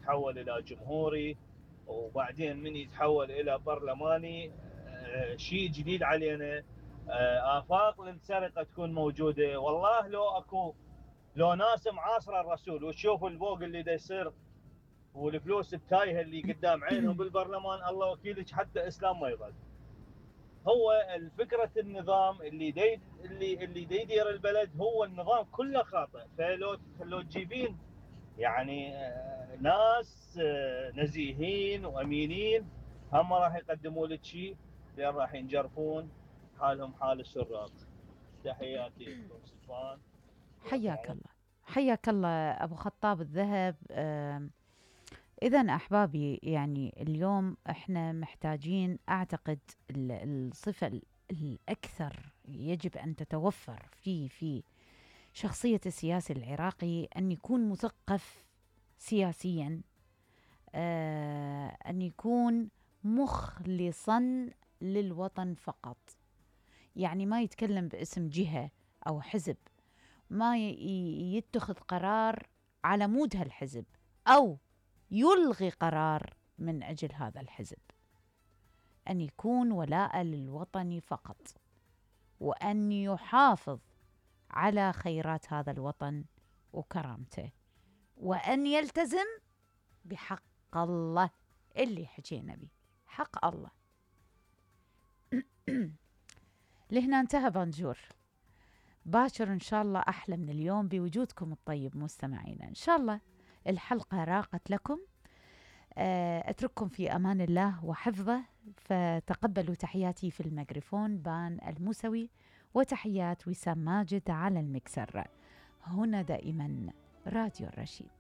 يتحول الى جمهوري، وبعدين من يتحول الى برلماني، شيء جديد علينا. آفاق للسرقة تكون موجودة. والله لو ناس معاصرة الرسول وتشوفوا البوق اللي دا يصير والفلوس التايهة اللي قدام عينهم بالبرلمان، الله وكيلك حتى إسلام ما يظل. هو الفكرة النظام اللي يدير البلد، هو النظام كله خاطئ. فلو تجيبين يعني ناس نزيهين وأمينين، هم راح يقدموا لك شيء، لأن راح ينجرفون حالهم حال السراق. تحياتي لكم سلطان. حياك الله، حياك الله أبو خطاب الذهب. إذن أحبابي، يعني اليوم إحنا محتاجين، أعتقد الصفة الأكثر يجب أن تتوفر في شخصية السياسي العراقي أن يكون مثقف سياسيا، أن يكون مخلصا للوطن فقط. يعني ما يتكلم باسم جهة أو حزب، ما يتخذ قرار على مود هالحزب أو يلغي قرار من أجل هذا الحزب. أن يكون ولاء للوطن فقط، وأن يحافظ على خيرات هذا الوطن وكرامته، وأن يلتزم بحق الله اللي حكينا به، حق الله. لهنا انتهى بانجور. باكر إن شاء الله أحلى من اليوم بوجودكم الطيب مستمعينا. إن شاء الله الحلقة راقت لكم. أترككم في أمان الله وحفظه. فتقبلوا تحياتي في الميكروفون بان الموسوي، وتحيات وسام ماجد على المكسر. هنا دائما راديو الرشيد.